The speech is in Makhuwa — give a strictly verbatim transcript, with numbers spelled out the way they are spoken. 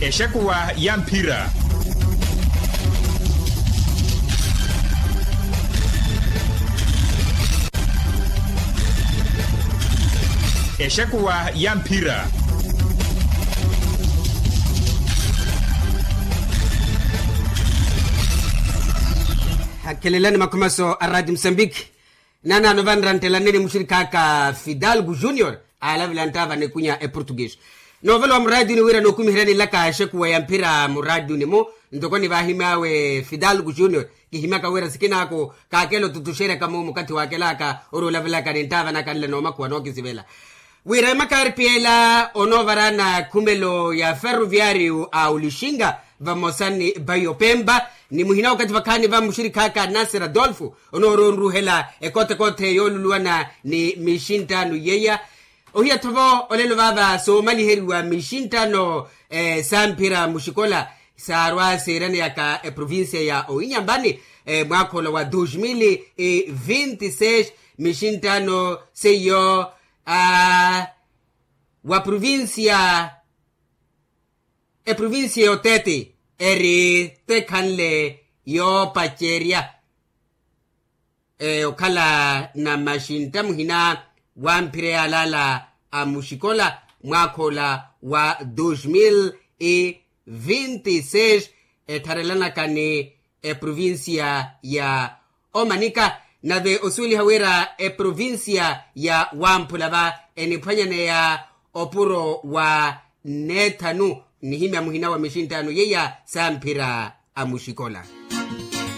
Exekuwa ya mphira. Exekuwa ya mphira. Hakhelelani makhumaso a rati musambiki. Nanaano vanranttelaneni muxirikhaaka fidalgo junior, aalavela nttaava n'ekunya eportuguese. Noovela wa muraatini wira nookumiheryani nlaka exekuwa ya mphira muraatini-mu. Ntoko nivahimy'awe fidalgo junior, kihimyaka wira sikinaako kaakela otutuxeryaka-mu mukathi waakelaka ori olavelaka ni nttaava naka nle noomakhuwa nookisivela. Wira emakarpi ela onoovaraana khumelo ya ferroviario a olixinga vamosa ni bayo pempa, ni muhina okathi vakhaani va muxirikhaaka nasir adolfo, onooroonruhela ekothekothe yooluluwana ni mixinttaano yeiya. Ohiya-tho vo olelo vaava soomaliheriwa mixinttaano sa mphira muxikola, saarwa seeraneyaka eprovincia ya owinyambani mwaakha ola wa dos mil e vinte e seis. Mixinttaano seiyo a wa provincia, eprovincia y'otete eri tekhanle yoopacerya okhala na maxintta muhina wa mphira yaalala a muxikola mwaakha ola wa dos mil e vinte e seis, ettharelanaka ni eprovincia ya omanika. Nave osuweliha wira eprovincia ya wamphula va eniphwanyaneya opuro wa neethanu, nnihimya muhina wa mixinttaano yeiya sa mphira a muxikola.